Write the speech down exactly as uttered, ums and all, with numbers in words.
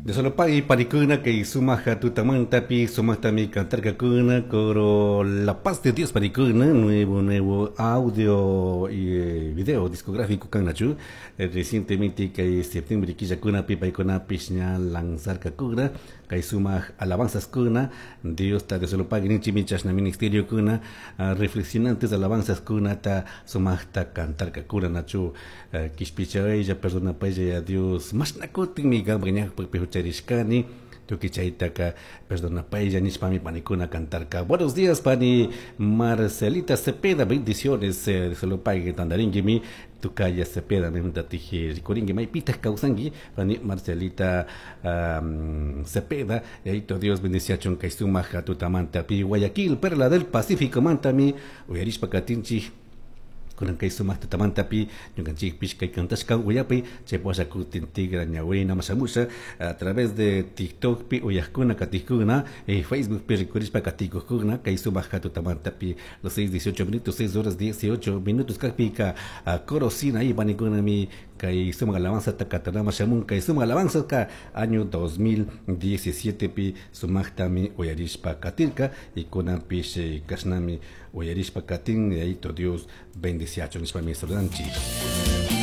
De solo pagui panikuna kay sumaja tutamantapi sumaktami cantarkakuna coro La Paz de Dios panikuna nuevo nuevo audio y eh, video discográfico kanachu eh, recientemente kay septiembre killakunapi paykunapish ña lanzarkakuna kay sumaj alabanzas kuna Dios ta de solo pagui ninchimi chashna ministerio kuna uh, reflexionantes alabanzas kunata sumajta cantarkakuna nachu uh, kishpichaylla perdonapaylla Dios mashnakutinmi qampak ñawpakpi hucharishkani tukuy chaytaka perdonapaylla nishpami panikuna cantarka. Buenos días, pani Marcelita Cepeda, bendiciones, eh, solo pague tandaringuimi, tukaya Cepeda, memtatiji rikuringi maypitaq kawsanki, pani Marcelita um, Cepeda, yaito Dios bendiciachun kay sumaq tutamanta pi Guayaquil, Perla del Pacífico mantami, uyarishpa katinchik kunan kay sumaq tutamantapi ñukanchikpish kay kantashka uyapi chay washa kutin tigra ñawina mashamusha a través de TikTok pi uyajkuna katijkuna eh, Facebook pi rikurishpa katikujkuna kay sumaq tutamantapi los seis dieciocho minutos, seis horas dieciocho minutos kakpika corosina ahí panikunami kay sumaq alabanza takatanama shamun kay sumaq alabanza ka año dos mil diecisiete pi sumaqtami uyarishpa katirka y kunanpish eh, kashnami uyarishpa katin yaito Dios bendiciacho nishpami saludanchik.